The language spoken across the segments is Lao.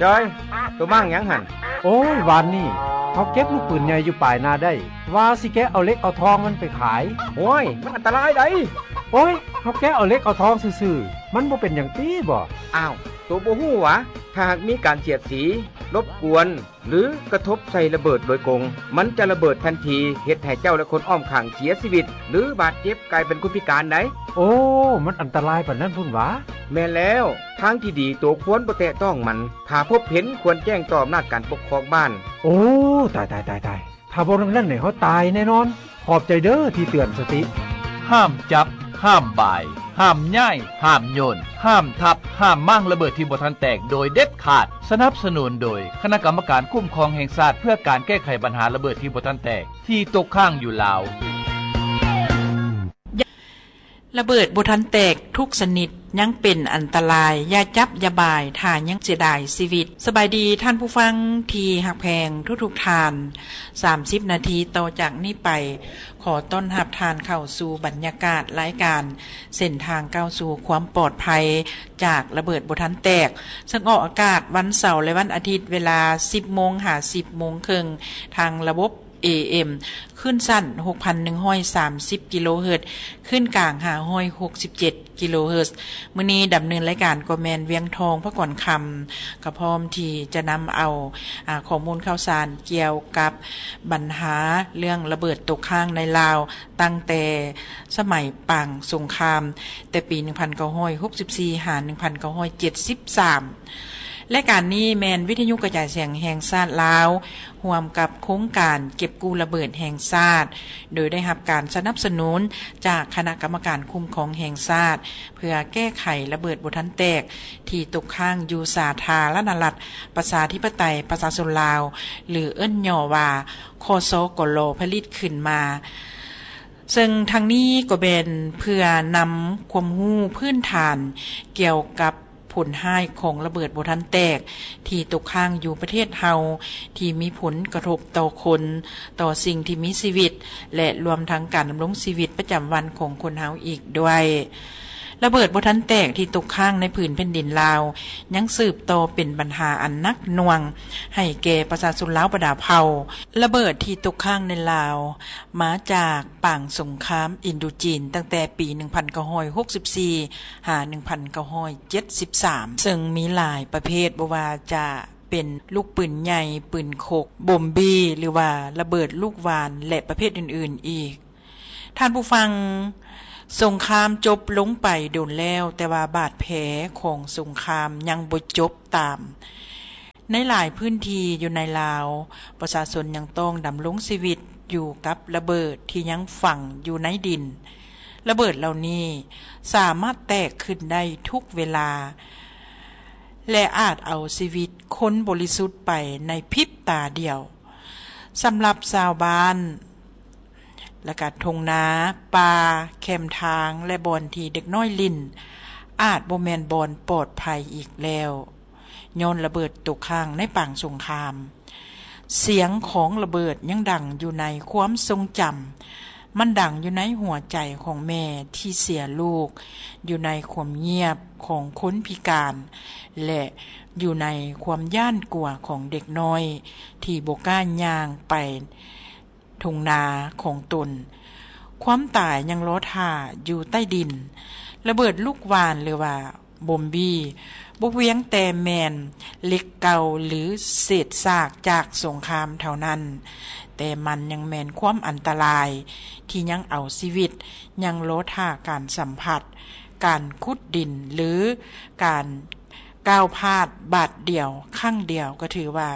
ຈອຍ, ໂຕມ້າງຫຍັງຫັ້ນ? ໂອ້ຍ, ວານນີ້ເຮົາເກັບລູກປືນໃຫຍ່ຢູ່ປາຍນາໄດ້, ວ່າຊິແກະເອົາເຫຼັກເອົາທອງມັນໄປຂາຍ. ໂອ້ຍ, ມັນອັນຕະລາຍໃດ໋. ໂອ້ຍ, ເຮົາແກະເອົາເຫຼັກເອົາທອງຊື່ໆ, ມັນບໍ່ເປັນຫຍັງຕິບໍ? ອ້າວ, ໂຕບໍ່ຮູ້ຫວາ? ຖ້າຫາກມີການສຽດສີ, ລົບກວນ ຫຼື ກະທົບໃສ່ລະເບີດໂດຍກົງ, ມັນຈະລະເບີດທັນທີ, ເຮັດໃຫ້ເຈົ້າ ແລະ ຄົນອ້ອມຂ້າງເສຍຊີວິດ ຫຼື ບາດເຈັບ, ກາຍເປັນຄົນພິການໄດ໋. ໂອ້, ມັນອັນຕະລາຍປານນັ້ນພຸ້ນຫວາ? ແມ່ນແລ້ວ, ທາງທີ່ດີໂຕຄວນບໍ່ແຕະຕ້ອງມັນ, ຖ້າພົບເຫັນຄວນແຈ້ງຕໍ່ອຳນາດການປົກຄອງບ້ານ. ໂອ້, ຕາຍ, ຕາຍ, ຕາຍ, ຕາຍ. ຖ້າບໍ່ດັ່ງນັ້ນນີ້ເຮົາຕາຍແນ່ນອນ. ຂອບໃຈເດີທີ່ເຕືອນສະຕິ. ຫ້າມຈັບ, ຫ້າມບາຍ, ຫ້າມຍ້າຍ, ຫ້າມໂຍນ, ຫ້າມທັບ, ຫ້າມມ້າງລະເບີດທີ່ບໍ່ທັນແຕກໂດຍເດັດຂາດ. ສະໜັບສະໜູນໂດຍຄະນະກຳມະການຄຸ້ມຄອງແຫ່ງຊາດ ເພື່ອການແກ້ໄຂບັນຫາລະເບີດທີ່ບໍ່ທັນແຕກ ທີ່ຕົກຄ້າງຢູ່ລາວ. ລະເບີດບໍ່ທັນແຕກທຸກຊະນິດຍັງເປັນອັນຕະລາຍ, ຢ່າຈັບຢ່າບາຍ ຖ້າຍັງເສຍດາຍຊີວິດ. ສະບາຍດີທ່ານຜູ້ຟັງທີ່ຮັກແພງທຸກໆທ່ານ. ສາມສິບນາທີຕໍ່ຈາກນີ້ໄປ, ຂໍຕ້ອນຮັບທ່ານເຂົ້າສູ່ບັນຍາກາດລາຍການເສັ້ນທາງກ້າວສູ່ຄວາມປອດໄພຈາກລະເບີດບໍ່ທັນແຕກ, ເຊິ່ງອອກອາກາດວັນເສົາ ແລະ ວັນອາທິດ ເວລາສິບໂມງຫາສິບໂມງເຄິ່ງ ທາງລະບົບ ເອເອັມ ຄື້ນສັ້ນ ຫົກພັນໜຶ່ງຮ້ອຍສາມສິບ ກິໂລເຮີດ, ຄື້ນກາງ ຫ້າຮ້ອຍຫົກສິບເຈັດ ກິໂລເຮີດ. ມື້ນີ້ດຳເນີນລາຍການກໍແມ່ນ ວຽງທອງ ພະກອນຄຳ, ກໍພ້ອມທີ່ຈະນຳເອົາ ອາ ຂໍ້ມູນຂ່າວສານກ່ຽວກັບບັນຫາເລື່ອງລະເບີດຕົກຄ້າງໃນລາວ ຕັ້ງແຕ່ສະໄໝປາງສົງຄາມ ແຕ່ປີໜຶ່ງພັນເກົ້າຮ້ອຍຫົກສິບສີ່ ຫາ ໜຶ່ງພັນເກົ້າຮ້ອຍເຈັດສິບສາມ. ລາຍການນີ້ແມ່ນວິທະຍຸກະຈາຍສຽງແຫ່ງຊາດລາວ ຮ່ວມກັບໂຄງການເກັບກູ້ລະເບີດແຫ່ງຊາດ, ໂດຍໄດ້ຮັບການສະໜັບສະໜູນຈາກຄະນະກຳມະການຄຸ້ມຄອງແຫ່ງຊາດ ເພື່ອແກ້ໄຂລະເບີດບໍ່ທັນແຕກທີ່ຕົກຄ້າງຢູ່ສາທາລະນະລັດ ປະຊາທິປະໄຕ ປະຊາຊົນລາວ ຫຼື ເອີ້ນຫຍໍ້ວ່າ ຄສກລ ຜະລິດຂຶ້ນມາ. ເຊິ່ງທັງນີ້ກໍແມ່ນເພື່ອນຳຄວາມຮູ້ພື້ນຖານກ່ຽວກັບຜົນຮ້າຍຂອງລະເບີດບໍ່ທັນແຕກທີ່ຕົກຄ້າງຢູ່ປະເທດເຮົາ ທີ່ມີຜົນກະທົບຕໍ່ຄົນ, ຕໍ່ສິ່ງທີ່ມີຊີວິດ ແລະ ລວມທັງການດຳລົງຊີວິດປະຈຳວັນຂອງຄົນເຮົາອີກດ້ວຍ. ລະເບີດບໍ່ທັນແຕກທີ່ຕົກຄ້າງໃນຜືນແຜ່ນດິນລາວ ຍັງສືບຕໍ່ເປັນບັນຫາອັນໜັກໜ່ວງໃຫ້ແກ່ປະຊາຊົນລາວບັນດາເຜົ່າ. ລະເບີດທີ່ຕົກຄ້າງໃນລາວ ມາຈາກປາງສົງຄາມອິນໂດຈີນ ຕັ້ງແຕ່ປີໜຶ່ງພັນເກົ້າຮ້ອຍຫົກສິບສີ່ ຫາ ໜຶ່ງພັນເກົ້າຮ້ອຍເຈັດສິບສາມ ເຊິ່ງມີຫຼາຍປະເພດ, ບໍ່ວ່າຈະເປັນລູກປືນໃຫຍ່, ປືນຄົກ, ບົມບີ ຫຼືວ່າລະເບີດລູກຫວ່ານ ແລະ ປະເພດອື່ນໆອີກ. ທ່ານຜູ້ຟັງ, ສົງຄາມຈົບລົງໄປດົນແລ້ວ, ແຕ່ວ່າບາດແຜຂອງສົງຄາມຍັງບໍ່ຈົບຕາມ. ໃນຫຼາຍພື້ນທີ່ຢູ່ໃນລາວ, ປະຊາຊົນຍັງຕ້ອງດຳລົງຊີວິດຢູ່ກັບລະເບີດທີ່ຍັງຝັງຢູ່ໃນດິນ. ລະເບີດເຫຼົ່ານີ້ສາມາດແຕກຂຶ້ນໄດ້ທຸກເວລາ ແລະ ອາດເອົາຊີວິດຄົນບໍລິສຸດໄປໃນພິບຕາດຽວ. ສຳລັບຊາວບ້ານ ແລະກະທົ່ງນາ, ປ່າ, ແຄມທາງ ແລະ ບ່ອນທີ່ເດັກນ້ອຍຫຼິ້ນ ອາດບໍ່ແມ່ນບ່ອນປອດໄພອີກແລ້ວ ຍ້ອນລະເບີດຕົກຄ້າງໃນປາງສົງຄາມ. ສຽງຂອງລະເບີດຍັງດັງຢູ່ໃນຄວາມຊົງຈຳ, ມັນດັງຢູ່ໃນຫົວໃຈຂອງແມ່ທີ່ເສຍລູກ, ຢູ່ໃນຄວາມງຽບຂອງຄົນພິການ ແລະ ຢູ່ໃນຄວາມຢ້ານກົວຂອງເດັກນ້ອຍທີ່ບໍ່ກ້າຍ່າງໄປ ທົ່ງນາຂອງຕົນ. ຄວາມຕາຍຍັງລໍຖ້າຢູ່ໃຕ້ດິນ. ລະເບີດລູກຫວ່ານ ຫຼືວ່າບົມບີ ບໍ່ພຽງແຕ່ແມ່ນເຫຼັກເກົ່າ ຫຼື ເສດຊາກຈາກສົງຄາມເທົ່ານັ້ນ, ແຕ່ມັນຍັງແມ່ນຄວາມອັນຕະລາຍທີ່ຍັງເອົາຊີວິດ, ຍັງລໍຖ້າການສຳຜັດ, ການຂຸດດິນ ຫຼື ການ ກ້າວພາດບາດດຽວ, ຄັ້ງດຽວກໍຖືວ່າ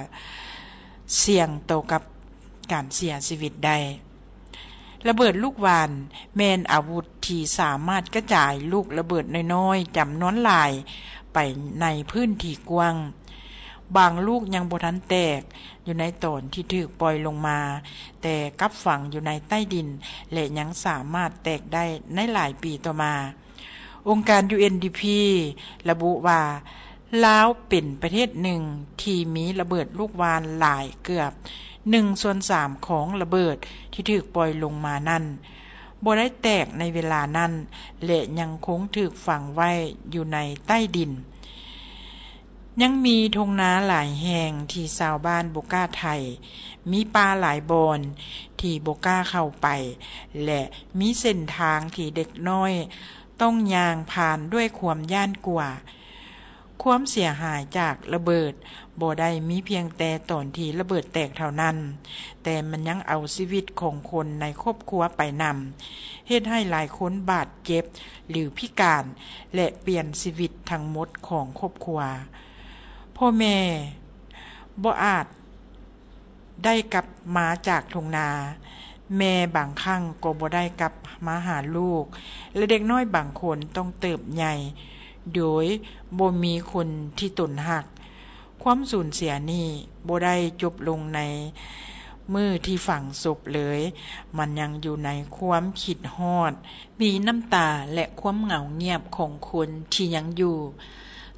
ສ່ຽງຕໍ່ກັບການເສຍຊີວິດໄດ້. ລະເບີດລູກຫວ່ານແມ່ນອາວຸດທີ່ສາມາດກະຈາຍລູກລະເບີດນ້ອຍໆຈຳນວນຫຼາຍໄປໃນພື້ນທີ່ກວ້າງ. ບາງລູກຍັງບໍ່ທັນແຕກຢູ່ໃນຕອນທີ່ຖືກປ່ອຍລົງມາ, ແຕ່ກັບຝັງຢູ່ໃນໃຕ້ດິນ ແລະ ຍັງສາມາດແຕກໄດ້ໃນຫຼາຍປີຕໍ່ມາ. ອົງການ ຢູ ເອັນ ດີ ພີ ລະບຸວ່າ ລາວເປັນປະເທດໜຶ່ງທີ່ມີລະເບີດລູກຫວ່ານຫຼາຍເກືອບໜຶ່ງສ່ວນສາມຂອງລະເບີດທີ່ຖືກປ່ອຍລົງມານັ້ນ ບໍ່ໄດ້ແຕກໃນເວລານັ້ນ ແລະ ຍັງຄົງຖືກຝັງໄວ້ຢູ່ໃນໃຕ້ດິນ. ຍັງມີທົ່ງນາຫຼາຍແຫ່ງທີ່ຊາວບ້ານບໍ່ກ້າໄຖ, ມີປ່າຫຼາຍບ່ອນທີ່ບໍ່ກ້າເຂົ້າໄປ ແລະ ມີເສັ້ນທາງທີ່ເດັກນ້ອຍຕ້ອງຍ່າງຜ່ານດ້ວຍຄວາມຢ້ານກົວ. ຄວາມເສຍຫາຍຈາກລະເບີດບໍ່ໄດ້ມີພຽງແຕ່ຕອນທີ່ລະເບີດແຕກເທົ່ານັ້ນ, ແຕ່ມັນຍັງເອົາຊີວິດຂອງຄົນໃນຄອບຄົວໄປນຳ, ເຮັດໃຫ້ຫຼາຍຄົນບາດເຈັບ ຫຼື ພິການ ແລະ ປ່ຽນຊີວິດທັງໝົດຂອງຄອບຄົວ. ພໍ່ແມ່ບໍ່ອາດໄດ້ກັບມາຈາກທົ່ງນາ, ແມ່ບາງຄັ້ງກໍບໍ່ໄດ້ກັບມາຫາລູກ ແລະ ເດັກນ້ອຍບາງຄົນຕ້ອງເຕີບໃຫຍ່ໂດຍບໍ່ມີຄົນທີ່ຕົນຮັກ. ຄວາມສູນເສຍນີ້ບໍ່ໄດ້ຈົບລົງໃນມື້ທີ່ຝັງສົບເລີຍ, ມັນຍັງຢູ່ໃນຄວາມຄິດຮອດ, ມີນ້ຳຕາ ແລະ ຄວາມເຫງົາງຽບຂອງຄົນທີ່ຍັງຢູ່.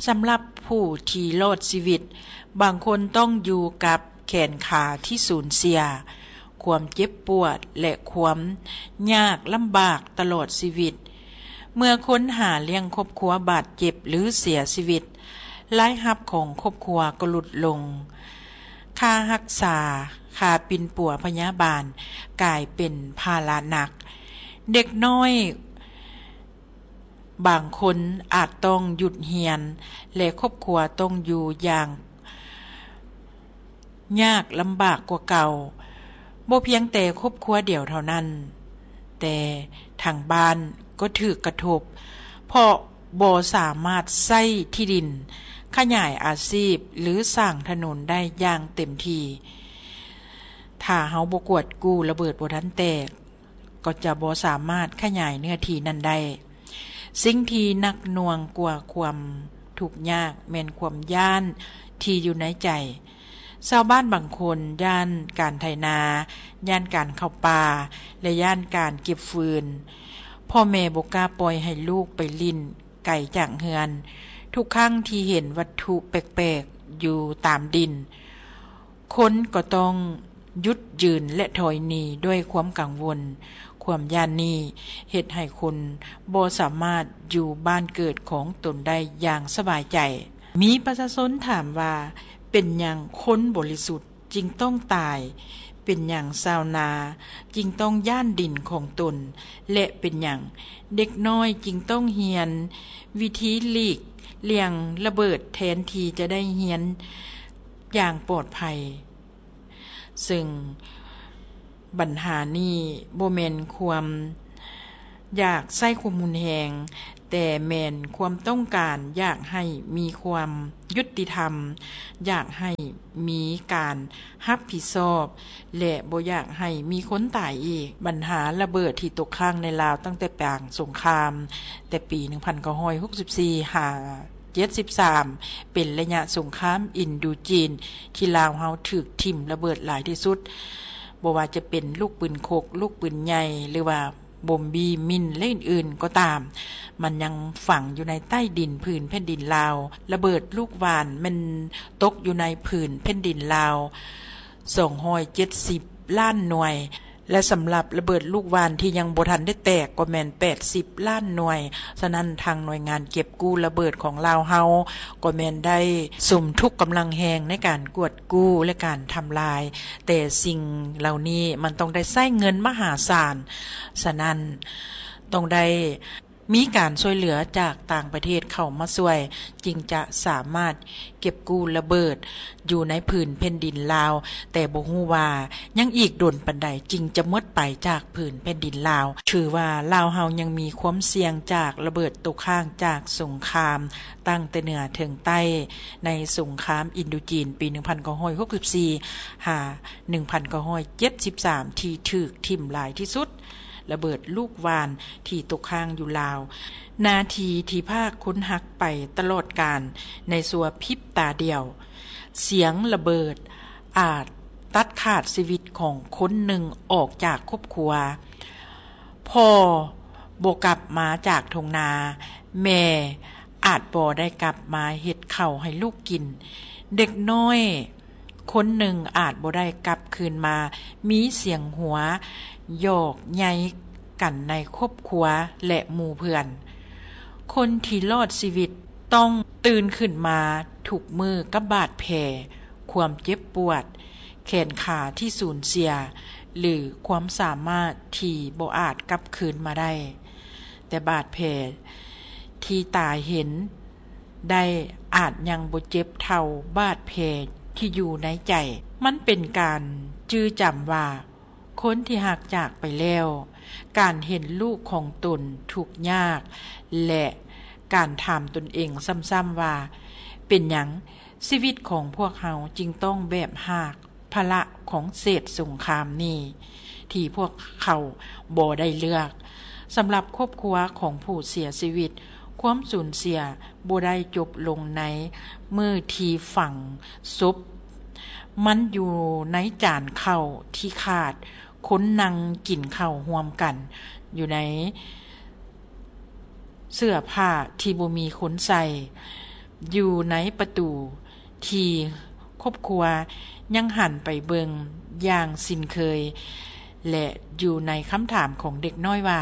ສຳລັບຜູ້ທີ່ລອດຊີວິດ, ບາງຄົນຕ້ອງຢູ່ກັບແຂນຂາທີ່ສູນເສຍ, ຄວາມເຈັບປວດ ແລະ ຄວາມຍາກລຳບາກຕະຫຼອດຊີວິດ. ເມື່ອຄົນຫາລ້ຽງຄອບຄົວບາດເຈັບ ຫຼື ເສຍຊີວິດ, ລາຍຮັບຂອງຄອບຄົວກໍຫຼຸດລົງ. ຄ່າຮັກສາ, ຄ່າປິ່ນປົວພະຍາບານກາຍເປັນພາລະໜັກ. ເດັກນ້ອຍບາງຄົນອາດຕ້ອງຢຸດຮຽນ ແລະ ຄອບຄົວຕ້ອງຢູ່ຢ່າງຍາກລຳບາກກວ່າເກົ່າ. ບໍ່ພຽງແຕ່ຄອບຄົວດຽວເທົ່ານັ້ນ, ແຕ່ທາງບ້ານກໍຖືກກະທົບ ເພາະບໍ່ສາມາດໃຊ້ທີ່ດິນ, ຂະຫຍາຍອາຊີບ ຫຼື ສ້າງຖະໜົນໄດ້ຢ່າງເຕັມທີ່. ຖ້າເຮົາບໍ່ກວດກູ້ລະເບີດບໍ່ທັນແຕກ, ກໍຈະບໍ່ສາມາດຂະຫຍາຍເນື້ອທີ່ນັ້ນໄດ້. ສິ່ງທີ່ໜັກໜ່ວງກວ່າຄວາມທຸກຍາກແມ່ນຄວາມຢ້ານທີ່ຢູ່ໃນໃຈ. ຊາວບ້ານບາງຄົນຢ້ານການໄຖນາ, ຢ້ານການເຂົ້າປ່າ ແລະ ຢ້ານການເກັບຟືນ. ພໍ່ແມ່ບໍ່ກ້າປ່ອຍໃຫ້ລູກໄປຫຼິ້ນໄກຈາກເຮືອນ. ທຸກຄັ້ງທີ່ເຫັນວັດຖຸແປກໆຢູ່ຕາມດິນ, ຄົນກໍຕ້ອງຢຸດຢືນ ແລະ ຖອຍໜີດ້ວຍຄວາມກັງວົນ. ຄວາມຢ້ານນີ້ເຮັດໃຫ້ຄົນບໍ່ສາມາດຢູ່ບ້ານເກີດຂອງຕົນໄດ້ຢ່າງສະບາຍໃຈ. ມີປະຊາຊົນຖາມວ່າ, ເປັນຫຍັງຄົນບໍລິສຸດຈຶ່ງຕ້ອງຕາຍ? ເປັນຫຍັງຊາວນາຈຶ່ງຕ້ອງຢ້ານດິນຂອງຕົນ? ແລະ ເປັນຫຍັງເດັກນ້ອຍຈຶ່ງຕ້ອງຮຽນວິທີຫຼີກລ່ຽງລະເບີດ ແທນທີ່ຈະໄດ້ຮຽນຢ່າງປອດໄພ? ເຊິ່ງບັນຫານີ້ບໍ່ແມ່ນຄວາມຢາກໃຊ້ຄວາມຮຸນແຮງ, ແຕ່ແມ່ນຄວາມຕ້ອງການຢາກໃຫ້ມີຄວາມຍຸຕິທຳ, ຢາກໃຫ້ມີການຮັບຜິດຊອບ ແລະ ບໍ່ຢາກໃຫ້ມີຄົນຕາຍອີກ. ບັນຫາລະເບີດທີ່ຕົກຄ້າງໃນລາວຕັ້ງແຕ່ປາງສົງຄາມ ແຕ່ປີໜຶ່ງພັນເກົ້າຮ້ອຍຫົກສິບສີ່ ຫາ ເຈັດສິບສາມ ເປັນໄລຍະສົງຄາມອິນໂດຈີນ ທີ່ລາວເຮົາຖືກຖິ້ມລະເບີດຫຼາຍທີ່ສຸດ, ບໍ່ວ່າຈະເປັນລູກປືນຄົກ, ລູກປືນໃຫຍ່ ຫຼືວ່າບົມບີມິນ ແລະ ອື່ນໆກໍຕາມ, ມັນຍັງຝັງຢູ່ໃນໃຕ້ດິນຜືນແຜ່ນດິນລາວ. ລະເບີດລູກຫວ່ານແມ່ນຕົກຢູ່ໃນຜືນແຜ່ນດິນລາວ ສອງຮ້ອຍເຈັດສິບລ້ານໜ່ວຍ ແລະ ສຳລັບລະເບີດລູກຫວ່ານທີ່ຍັງບໍ່ທັນໄດ້ແຕກກໍແມ່ນແປດສິບລ້ານໜ່ວຍ. ສະນັ້ນ ທາງໜ່ວຍງານເກັບກູ້ລະເບີດຂອງລາວເຮົາກໍແມ່ນໄດ້ສຸມທຸກກຳລັງແຮງໃນການກວດກູ້ ແລະ ການທຳລາຍ, ແຕ່ສິ່ງເຫຼົ່ານີ້ມັນຕ້ອງໄດ້ໃຊ້ເງິນມະຫາສານ. ສະນັ້ນ ຕ້ອງໄດ້ ມີການຊ່ວຍເຫຼືອຈາກຕ່າງປະເທດເຂົ້າມາຊ່ວຍ, ຈຶ່ງຈະສາມາດເກັບກູ້ລະເບີດຢູ່ໃນຜືນແຜ່ນດິນລາວ, ແຕ່ບໍ່ຮູ້ວ່າຍັງອີກດົນປານໃດຈຶ່ງຈະໝົດໄປຈາກຜືນແຜ່ນດິນລາວ. ຖືວ່າລາວເຮົາຍັງມີຄວາມສ່ຽງຈາກລະເບີດຕົກຄ້າງຈາກສົງຄາມຕັ້ງແຕ່ເໜືອເຖິງໃຕ້ ໃນສົງຄາມອິນໂດຈີນປີໜຶ່ງພັນເກົ້າຮ້ອຍຫົກສິບສີ່ ຫາ ໜຶ່ງພັນເກົ້າຮ້ອຍເຈັດສິບສາມ ທີ່ຖືກຖິ້ມຫຼາຍທີ່ສຸດ. ລະເບີດລູກຫວ່ານທີ່ຕົກຄ້າງຢູ່ລາວ, ນາທີທີ່ພາກຄົນຮັກໄປຕະຫຼອດການໃນຊົ່ວພິບຕາດຽວ. ສຽງລະເບີດອາດຕັດຂາດຊີວິດຂອງຄົນໜຶ່ງອອກຈາກຄອບຄົວ. ພໍ່ບໍ່ກັບມາຈາກທົ່ງນາ, ແມ່ອາດບໍ່ໄດ້ກັບມາເຮັດເຂົ້າໃຫ້ລູກກິນ. ເດັກນ້ອຍ ຄົນໜຶ່ງອາດບໍ່ໄດ້ກັບຄືນມາມີສຽງຫົວຢອກໃຍກັນໃນຄອບຄົວ ແລະ ໝູ່ເພື່ອນ. ຄົນທີ່ລອດຊີວິດ ຕ້ອງຕື່ນຂຶ້ນມາທຸກມື້ກັບບາດແຜ, ຄວາມເຈັບປວດ, ແຂນຂາທີ່ສູນເສຍ ຫຼື ຄວາມສາມາດທີ່ບໍ່ອາດກັບຄືນມາໄດ້. ແຕ່ບາດແຜທີ່ຕາເຫັນໄດ້ອາດຍັງບໍ່ເຈັບເທົ່າບາດແຜທີ່ຢູ່ໃນໃຈ. ມັນເປັນການຈື່ຈຳວ່າ ຄົນທີ່ຮັກຈາກໄປແລ້ວ, ການເຫັນລູກຂອງຕົນທຸກຍາກ ແລະ ການຖາມຕົນເອງຊ້ຳໆວ່າ ເປັນຫຍັງຊີວິດຂອງພວກເຮົາຈຶ່ງຕ້ອງແບກຫາບພາລະຂອງເສດສົງຄາມນີ້ ທີ່ພວກເຂົາບໍ່ໄດ້ເລືອກ? ສຳລັບຄອບຄົວຂອງຜູ້ເສຍຊີວິດ, ຄວາມສູນເສຍບໍ່ໄດ້ຈົບລົງໃນມື້ທີ່ຝັງສົບ. ມັນຢູ່ໃນຈານເຂົ້າທີ່ຂາດ, ຄົນນັ່ງກິນເຂົ້າຮ່ວມກັນ, ຢູ່ໃນເສື້ອຜ້າທີ່ບໍ່ມີຄົນໃສ່, ຢູ່ໃນປະຕູທີ່ຄອບຄົວຍັງຫັນໄປເບິ່ງຢ່າງຊິນເຄີຍ, ແລະ ຢູ່ໃນຄຳຖາມຂອງເດັກນ້ອຍວ່າ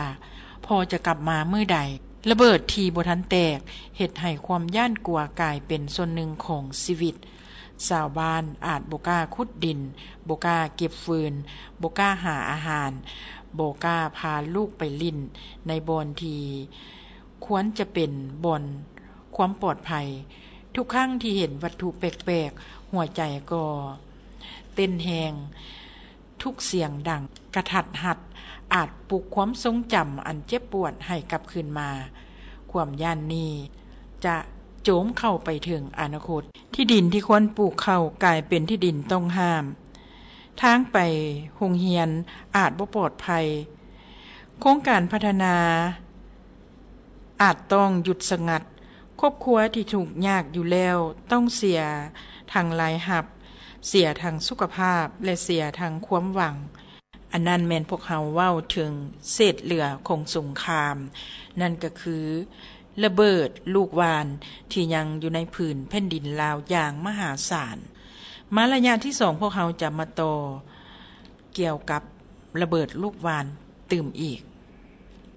ພໍ່ຈະກັບມາມື້ໃດ? ລະເບີດທີ່ບໍ່ທັນແຕກ ເຮັດໃຫ້ຄວາມຢ້ານກົວກາຍເປັນສ່ວນໜຶ່ງຂອງຊີວິດ. ຊາວບ້ານອາດບໍ່ກ້າຂຸດດິນ, ບໍ່ກ້າເກັບຟືນ, ບໍ່ກ້າຫາອາຫານ, ບໍ່ກ້າພາລູກໄປຫຼິ້ນໃນບ່ອນທີ່ຄວນຈະເປັນບ່ອນຄວາມປອດໄພ. ທຸກຄັ້ງທີ່ເຫັນວັດຖຸແປກໆ, ຫົວໃຈກໍເຕັ້ນແຮງ. ທຸກສຽງດັງກະທັດຮັດອາດປຸກຄວາມຊົງຈຳອັນເຈັບປວດໃຫ້ກັບຄືນມາ. ຄວາມຢ້ານນີ້ຈະໂຈມເຂົ້າໄປເຖິງອະນາຄົດ. ທີ່ດິນທີ່ຄວນປູກເຂົ້າກາຍເປັນທີ່ດິນຕ້ອງຫ້າມ. ທາງໄປໂຮງຮຽນອາດບໍ່ປອດໄພ. ໂຄງການພັດທະນາ ອາດຕ້ອງຢຸດສະງັດ. ຄອບຄົວທີ່ທຸກຍາກຢູ່ແລ້ວຕ້ອງເສຍທັງລາຍຮັບ, ເສຍທັງສຸຂະພາບ ແລະ ເສຍທັງຄວາມຫວັງ. ອັນນັ້ນແມ່ນພວກເຮົາເວົ້າເຖິງເສດເຫຼືອຂອງສົງຄາມ, ນັ້ນກໍຄືລະເບີດລູກຫວ່ານທີ່ຍັງຢູ່ໃນຜືນແຜ່ນດິນລາວຢ່າງມະຫາສານ. ມາໄລຍະທີສອງ ພວກເຮົາຈະມາຕໍ່ ກ່ຽວກັບລະເບີດລູກຫວ່ານຕື່ມອີກ.